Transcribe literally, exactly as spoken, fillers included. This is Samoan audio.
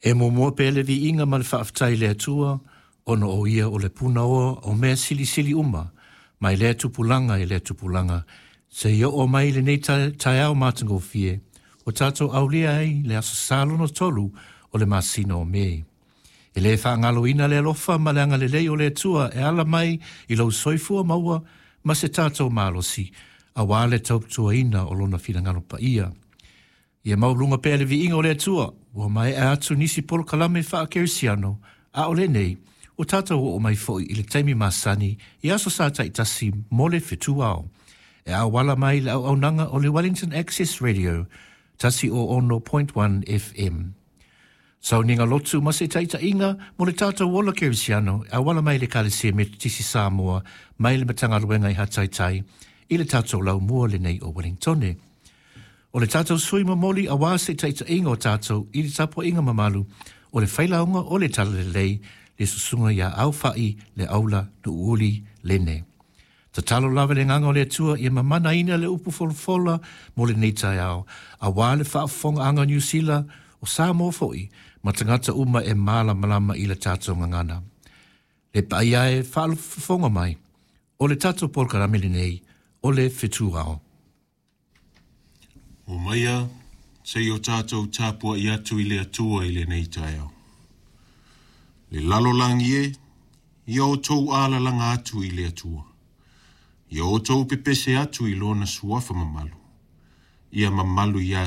E muamua pea le viiga ma le faafetai i le Atua, ona o ia o le punaoa o mea silisili uma, mai lea tupulaga i lea tupulaga, seia oo mai lenei taeao matagofie, ua tatou aulia ai le aso Sa lona tolu o le masina o Me. E le faagaloina le alofa ma le agalelei o le Atua e ala mai i lou soifua maua ma se tatou malosi, auā le tautuaina o lona finagalo paia. Ia maualuga pea le viiga o le Atua, ua maea atu nisi polokalame faakerisiano, a o lenei, ua tatou oo mai foi i le taimi masani i aso Sa taitasi mo le fetu ao. E auala mai le auaunaga o le Wellington Access Radio, tasi o ono point one F M. Sauniga lotu ma se taitaiga mo le tatou ola kerisiano, e auala mai le Ekalesia Metotisi Samoa, mai le Matagaluega i Hataitai, i le tatou laumua lenei o Wellingtone. O le tatou sui momoli auā se taitaiga o tatou i le tapuaiga mamalu o le failauga o le Talalelei, le susuga ia Aufai le Aula Nuuuli Lene. Tatalo lava le agaga o le Atua ia mamanaina le upu folafola mo lenei taeao, auā le faafofogaaga Niu Sila o Samoa foi, ma tagata uma e malamalama i le tatou gagana. Le paia e faafofoga mai, o le tatou polokalame lenei, o le Fetu Ao. O maia, se i o tātou tāpua i atu i le Atua i lenei taeao. Le lalolagi e, ia o tou alalanga atu i le Atua. Ia o tou pepese atu i lona suafa mamalu. Ia mamalu ia